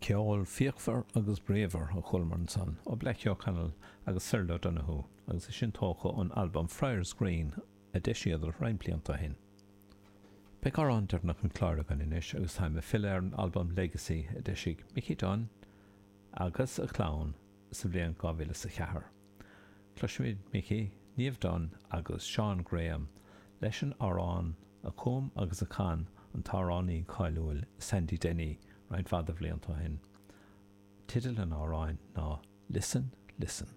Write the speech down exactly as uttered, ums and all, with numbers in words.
Ceol fíochmhar agus bríomhar a chualamar ansan ó Blackie O'Connell agus Cyril O'Donoghue agus é sin tógtha ón albam Friars Green a d'eisíodar roinnt blianta ó shin. Beidh amhrán deireanach an chláir againn anois agus táim ag filleadh ar an albam Legacy a d'eisigh Mickey Dunne agus a chlann sa bhliain dhá mhíle is a ceathair. Cloisfimid Mickey, Niamh Dunne agus Seán Graham leis an amhrán a chum agus a chan an t-amhránaí cáiliúil Sandy Denny roinnt mhaith de bhlianta ó shin. Teideal an amhráin ná Listen, Listen.